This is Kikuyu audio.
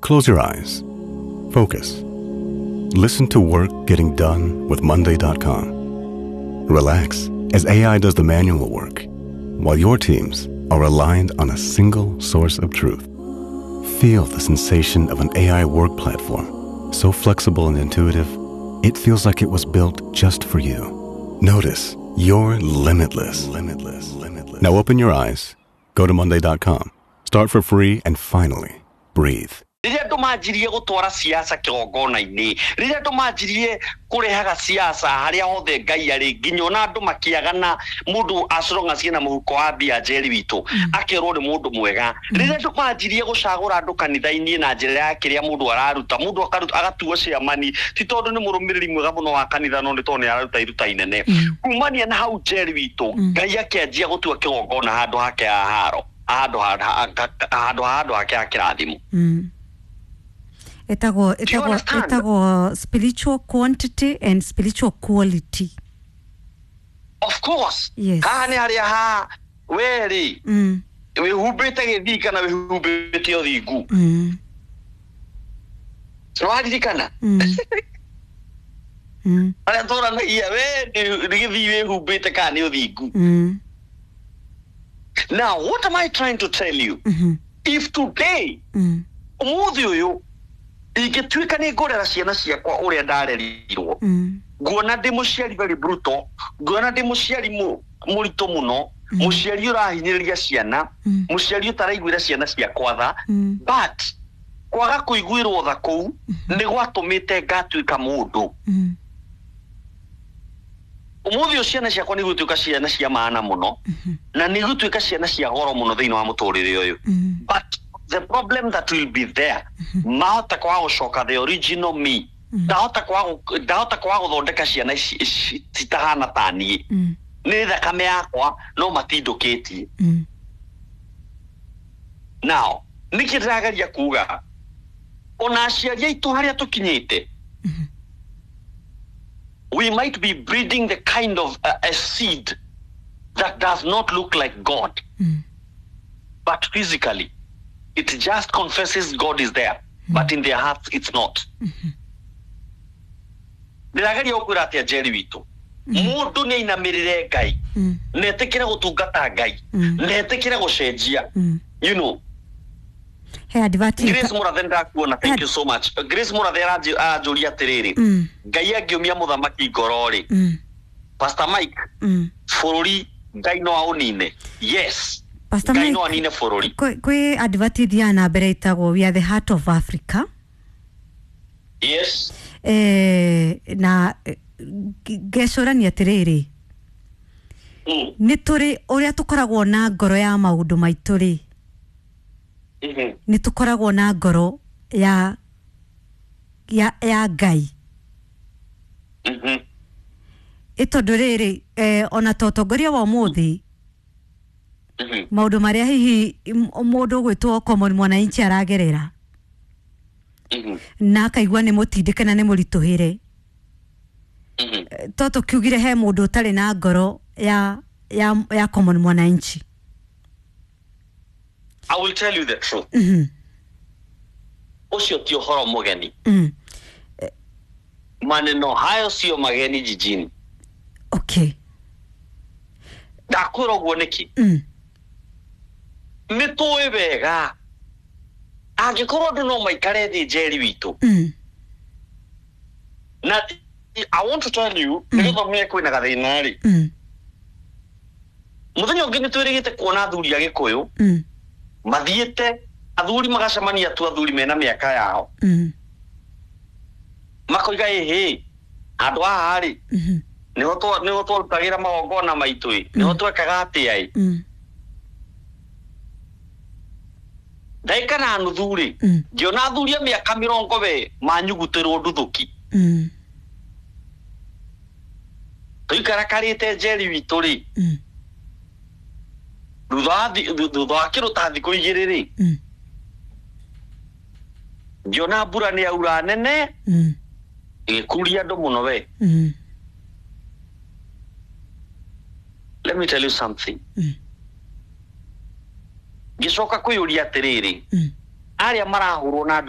Close your eyes. Focus. Listen to work getting done with Monday.com. Relax as AI does the manual work, while your teams are aligned on a single source of truth. Feel the sensation of an AI work platform, so flexible and intuitive, it feels like it was built just for you. Notice you're limitless. Limitless. Limitless. Now open your eyes, go to Monday.com, start for free, and finally breathe. Rĩrĩa andũ manjirie gũtwara siasa kĩgongona-inĩ, rĩrĩa andũ manjirie kũrehaga siasa harĩa hothe Ngai arĩ, nginya ona andũ makĩagana, mũndũ as long as ena mũhuko wa mbia, Njeri witũ, akerwo nĩ mũndũ mwega. Rĩrĩa andũ manjirie gũcagũra andũ kanitha-inĩ na njĩra ya kĩrĩa mũndũ araruta, mũndũ akaruta agatuo ciamani ti tondũ nĩ mũrũmĩrĩri mwega mũno wa kanitha, no nĩ tondũ nĩ araruta iruta inene. Kumania na hau, Njeri witũ, Ngai akĩanjia gũtua kĩgongona handũ hake ha haro, handũ hake ha kĩrathimo. Etagwo Do you etagwo understand? Etagwo spiritual quantity and spiritual quality. Of course. Yes. Haha nĩ harĩa ha we rĩ wĩhumbĩte gĩthii kana wĩhumbĩte ũthingu. Nĩwaririkana harĩa tũranagia we nĩ gĩthii wĩhumbĩte kana nĩ ũthingu? Now what am I trying to tell you? If today, ũmũthĩ ũyũ, ingĩtuĩka nĩ ngũrera ciana ciakwa ũrĩa ndarerirwo, nguona ndĩ mũciari very brutal, nguona ndĩ mũciari mũritũ mũno, mũciari ũrahinyĩrĩria ciana, mũciari ũtaraiguĩra ciana ciakwa tha, but kwaga kũiguĩrwo tha kũu nĩ gwatũmĩte ngatuĩka mũndũ. Ũmũthĩ ũyũ ciana ciakwa nĩ igũtuĩka ciana cia maana mũno na nĩ igũtuĩka ciana cia goro mũno thĩinĩ wa mũtũrĩre ũyũ, but the problem that will be there, mahota kwaga gũcoka the original me. Ndahota kwaga gũthondeka ciana ici citahana ta niĩ. Nĩ thakame yakwa no matindũkĩtie. Now nĩkĩ ndĩrageria kuga, ona aciari aitũ harĩa tũkinyĩte, we might be breeding the kind of a seed that does not look like God, but physically it just confesses God is there, but in their hearts it's not. Ndĩrageria gũkwĩra atĩa, Njeri witũ, mũndũ nĩ ainamĩrĩre Ngai na etĩkĩre gũtungata Ngai na etĩkĩre gũcenjia. He advert. Grace Murathe, ndakuona, thank you so much. Grace Murathe aranjũria atĩrĩrĩ, Ngai angĩũmia mũthamaki ngoro rĩ, Pastor Mike, bũrũri Ngai no aũnine? Yes. Pastor Ngai Mike, no anine bũrũri. Kwĩ advert ithiaga na mbere ĩtagwo "We are the heart of Africa". Na ngecũrania atĩrĩrĩ, nĩ tũrĩ ũrĩa tũkoragwo na ngoro ya maũndũ maitũ rĩ, nĩ tũkoragwo na ngoro ya Ngai. Ĩ tondũ rĩrĩ, ona ta ũtongoria wa ũmũthĩ, maũndũ marĩa hihi mũndũ ũgwĩtwo common mwananchi aragerera na akaigua nĩ mũtindĩke na nĩ mũritũhĩre, to tũkiugire he mũndũ ũtarĩ na ngoro ya common mwananchi? I will tell you the truth. Ũcio ti ũhoro mũgeni. Maneno hayo sio mageni jijini. Ndakwĩra ũguo nĩkĩ? Nĩ tũĩ wega angĩkorwo andũ no maikare thĩ, Njeri witũ, na I want to tell you, nĩgetha ũmenye kwĩna gathĩna rĩ, mũthenya ũngĩ nĩ twĩrĩgĩte kuona athuri a Gĩkũyũ mathiĩte, athuri magacemania tu, athuri mena mĩaka yao, makoiga, "Ĩhĩ, handũ haha rĩ, nĩho twarutagĩra magongona maitũ ĩ, nĩho twekaga atĩa ĩ." Ndagĩka na nuthu rĩ, ngĩona athuri a mĩaka 40 we manyugutĩrwo nduthũki. Tũikarakarĩte, Njeri witũ rĩ, thutha wa kĩndũ ta thikũ 2 rĩ, ngĩona mbura nĩ yaura nene, ĩgĩkuria andũ mũno we. Let me tell you something. Ngĩcoka kwĩyũria atĩrĩrĩ, arĩa marahũrwo na